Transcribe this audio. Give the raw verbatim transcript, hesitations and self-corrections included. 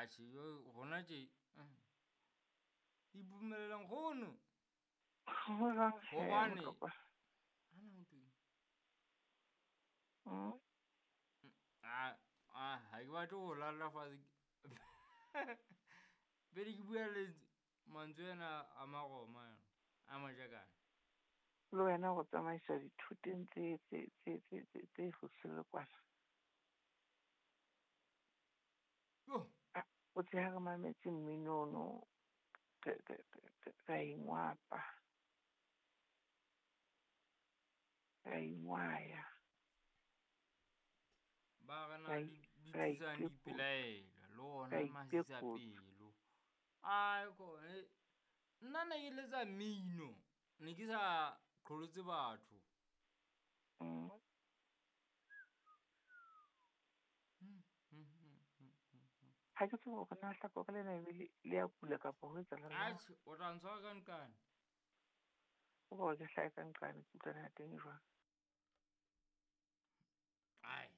Atjhe, jo hona tje ipumelela nkgono. Ho jwang he, Hobane Motlokwa? ana ho thweng? Mm. A a ha ke batle ho lalla fatshe. Pele ke bua le mantswe ana a Maroma a Majakane. Le wena go tsamaisa dithoteng tse tse tse tse tse tse hosele kwana. Yo. Ah, o tse ha re mametse mmino ono, re re re ra ingwapa. Ra ingwaya. Ba re na Ra di i- di ra tlisang itekotsa. dipelaelo le ona Ra masisa itekotsa. pelo. Ai kone nna ne ke letsa mmino, ne ke sa qholotse batho. Mm. Ha ke tsebe hore na hlakore lena ebe le le ya kula kapa ho etsahala jwang. Atjhe, o tla ntshwara ka nqane. O ka re ke hlahe ka nqane ke utlwana ya teng e jwang. Ai.